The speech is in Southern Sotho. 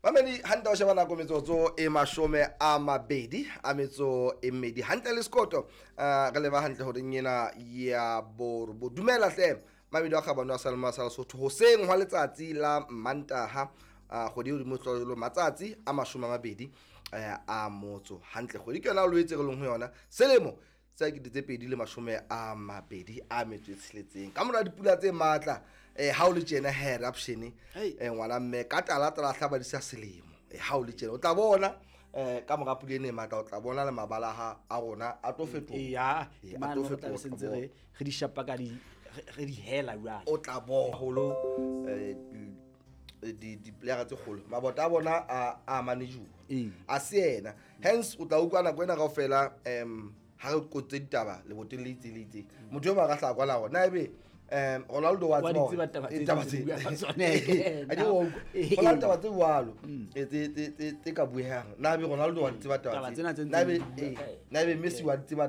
Mamedi hantle o sheba nako metsotso e 22 hantle le sekoto. Re leba hantle horeng ena ya borobo. Dumela hle Mamedi wa kgabane wa Salma sa Lesotho, hoseng hwa letsatsi la Mantaha, kgwedi e hodimo hlolo matsatsi a 20 a motso. Hantle kgwedi ke yona Loetse re leng ho yona, selemo sa 2026. Ka mora dipula tse matla, ha o le tjena eruption, ngwana mme ka tala tala hlaba di sa selemo. Ha o le tjena o tla bona ka mora pula ena e matla, o tla bona le mabala a rona a tlo fetoha. Eya, a tlo mane re tla fetoha, be sentse re di shapa ka di re di hela jwale. O tla bona holo di-player tse kgolo mabota a bona a manajuwa a se yena. Hence o tla utlwa nako ena kaofela ha re kotse ditaba leboteng le itseng le itseng, motho eo ba ka hlaha kwana hore na ebe Ronaldo wa Wa di tseba tseba taba hore tse taba tse tse buang ka tsona. A ke wa utlwa. Ho na le taba tse jwalo, tse ka buehang. Na ebe Ronaldo wa di tseba taba Taba tse? Tsena tse Na ebe ntseng di bua ka yena. na ebe Messi wa di tseba?